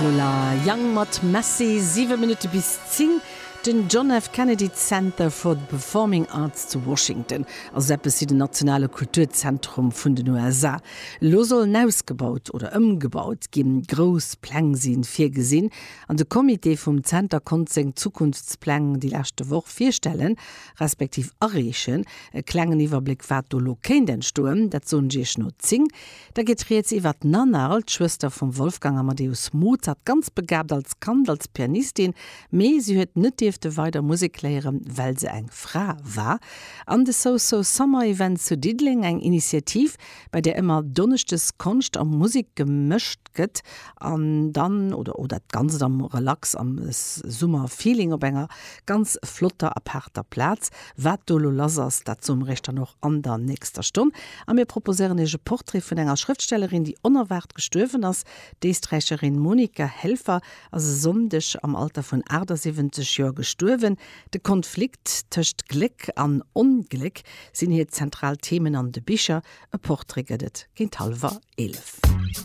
D'Lola Young mat Messi, 7 Minutte bis 10. Den John F. Kennedy Center for the Performing Arts zu Washington ass eppes wéi den nationale Kulturzentrum vun den USA. Elo soll en ausgebaut oder ëmgebaut ginn. Grouss Pläng si virgesinn an de Comité vum Zenter konnt seng Zukunftspläng déi leschte Woch virstellen, respektiv areechen. E klengen Iwwerbléck wat do elo kéint entstoen, dat soen ech iech no 10. Da geet rieds iwwer d'Nannerl, d'Schwëster vum Wolfgang Amadeus Mozart, ganz begabt als Kand, als Pianistin, mee si huet net dierfte weider Musek léieren, well se eng Fra war. An de So So Summer Event zu Diddeleng, eng Initiativ, bei där ëmmer donneschdes Konscht a Musek gemëscht gëtt an dann, oder oder dat Ganzt am Relax, am Summer-Feeling op enger ganz flotter, apaarter Plaz. Wat do elo lass ass, dat soe mer iech dann och an der nächster Stonn. A mir proposéieren iech e Portrait vun enger Schrëftstellerin, déi onerwaart gestuerwen ass. D'Éisträicherin Monika Helfer ass e Sonndeg am Alter vun 78 Joer gestuerwen. De Konflikt tëscht Gléck an Ongléck sinn hir zentral Themen an de Bicher. E Portrait gëtt et géint hallwer 11.